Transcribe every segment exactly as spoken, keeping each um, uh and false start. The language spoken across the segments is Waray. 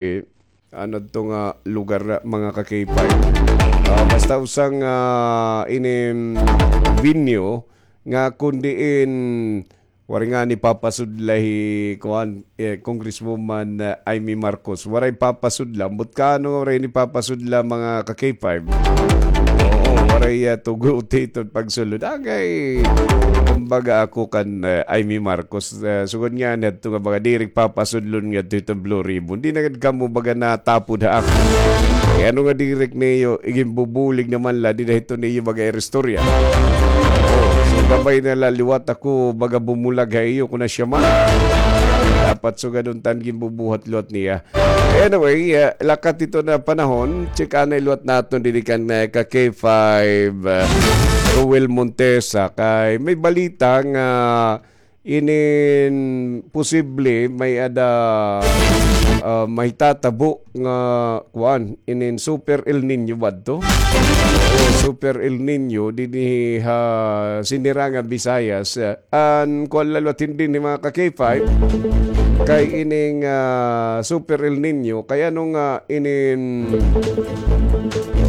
eh, ano to nga lugar, mga ka-K five. Ah, basta usa nga, ah, ini, mm, venue nga kun diin waray ngani papasudla hi, kuan, eh, Congresswoman, ah, Imee Marcos. Waray papasudla. Ambot kaano waray ini papasudla, mga ka-K five? Oo, waray, ah, tuguti iton pagsulod. Agay, kumbaga ako kan, ah, Imee Marcos, ah, sugad ngani hadto nga mga diri papasudlon ngadto hiton Blue Ribbon. Di na gad kamo baga natapod ha ako. Eh, ano nga diri niyo, iginbubulig naman la, di na hito niyo baga iristorya. Oh, so gabay na la liwat ako baga bumulag ha iyo kun asya man. Dapat sugad unta an ginbubuhat liwat niya. Anyway, ah, lakat hito nga panahon, check anay liwat naton didi kan, ah, ka-K five, ah, Roel Montesa, kay may balita nga inin posible may-ada, ah, mahitatabo nga, kuan, inin Super El Niño ba adto? O Super El Niño dinhi ha Sinirangan Visayas, ah, an kuan la liwat dinhi, mga ka-K five, kay ining, ah, Super El Niño, kay ano nga inin,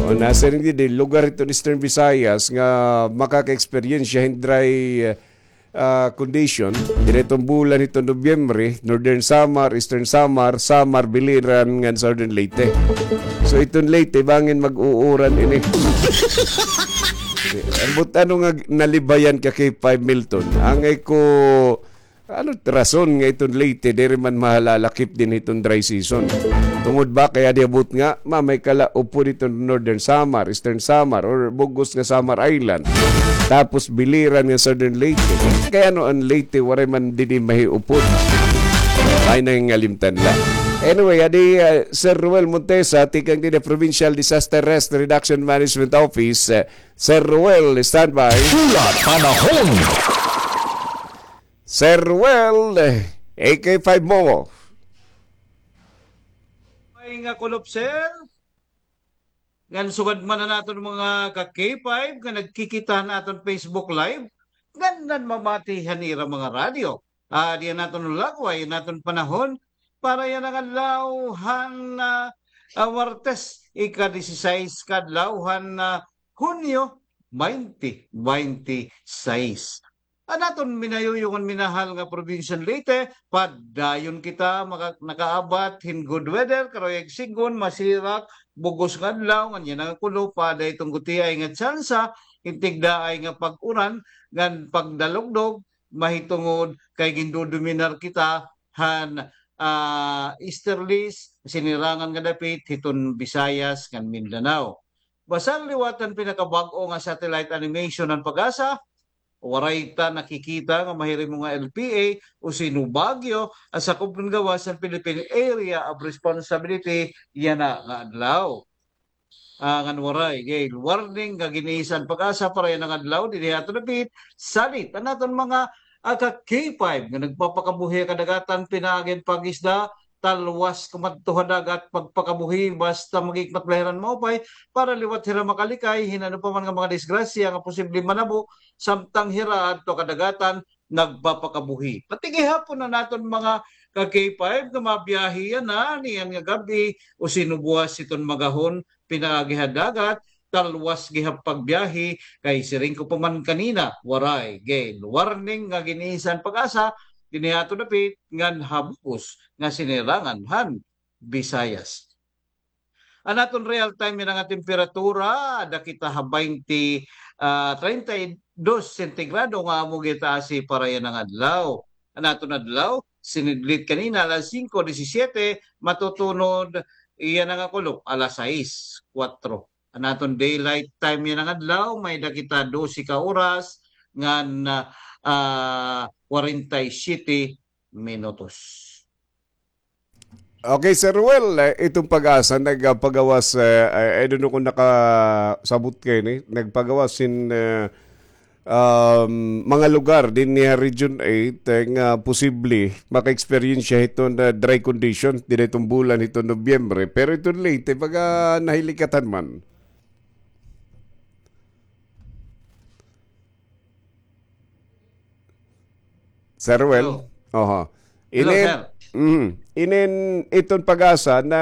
o, nasiring didi, lugar hiton Eastern Visayas nga makaka-eksperyensya hin dry, ah, condition, diri hiton bulan hiton Nobyembre, Northern Samar, Eastern Samar, Samar, Biliran, ngan Southern Leyte. So, hiton Leyte, bangin mag-uuran ini. Ambot ano nga nalibayan ka kay five Milton? Angay ko, ano rason nga hiton Leyte, diri man mahalalakip dinhi hiton dry season? Tungod ba kay adi abot nga, ma, may kala upod hiton Northern Samar, Eastern Samar, or bug-os nga Samar Island. Tapos Biliran nga Southern Leyte. Kay ano an Leyte, waray man dinhi mahiupod? Ay, nangingalimtan la. Anyway, adi, ah, Sir Roel Montesa, tikang dinhi Provincial Disaster Risk Reduction Management Office. Ah, Sir Roel, standby. Pula Panahon. Sir Roel, A K five mo. May nga kulop, sir. Ngan sugad man an aton mga ka-K five nga nagkikita han aton Facebook Live, ngan nanmamati han ira mga radyo. Ah, adi an aton lagway, an aton panahon, para yana nga adlaw han, ah, ah, Martes, ika-disisais ka adlaw han, ah, Hunyo, twenty twenty-six. An aton minayuyong ngan minahal nga probinsya han Leyte, padayon kita maka-, nakaabat hin good weather, karuyag sidngon, masirak, bug-os nga adlaw, ngan yana nga kulop, ada iton gutiay nga tsansa hin tigdaay nga pag-uran, ngan pagdalugdog, mahitungod kay gindodominar kita han, ah, easterlies, sinirangan nga dapit hiton Visayas ngan Mindanao. Basta liwat han pinakabag-o nga satellite animation han PAGASA, waray ta nakikita nga mahirimo nga L P A o sino Baguio an sakop ngan gawas han Philippine Area of Responsibility yana nga adlaw. Ah, ngan waray gale warning nga gin-iisyu han PAGASA para yana nga adlaw dinhi ha aton dapit. Salit an aton mga, ah, ka-K five nga nagpapakabuhi ha kadagatan pinaagi han pag-isda, talwas kumadto ha dagat pagpakabuhi, basta maghikmat la hira hin maupay para liwat hira makalikay hin ano pa man nga mga disgrasya nga posible manabo samtang hira adto ha kadagatan nagpapakabuhi. Pati gihapon an aton mga ka-K five nga mabiyahe yana niyan nga gab-i o sino buwas hiton magahon pinaagi ha dagat, talwas gihap pagbiyahe, kay siring ko pa man kanina, waray gale warning nga gin-iisyu han PAGASA dinhi ha aton dapit ngan ha bug-os nga sinirangan han Visayas. An aton real time yana nga temperatura, ada kita ha baynte, ah, treinta y dos sentigrado nga amo gitaasi para yana nga adlaw. An aton adlaw, sinidlit kanina alas singko disisiete, matutunod yana nga kulop alas sais kuwatro. An aton daylight time yana nga adlaw, may-ada kita dose ka oras ngan, ah, kwarenta y siyete minutos. Okay, Sir Ruel, eh, iton PAGASA nagpagawas, eh, I, I don't know kung nakasabot kayo ni, nagpagawas hin, eh, um, mga lugar dinhi ha Region eight, eh, nga posible maka-eksperyensya hiton, eh, dry condition dinhi hiton bulan hiton Nobyembre. Pero iton Leyte, baga nahilikatan man. Sir Ruel? Hello. Oho. Hello, ini, sir. Mm. Inin iton PAGASA na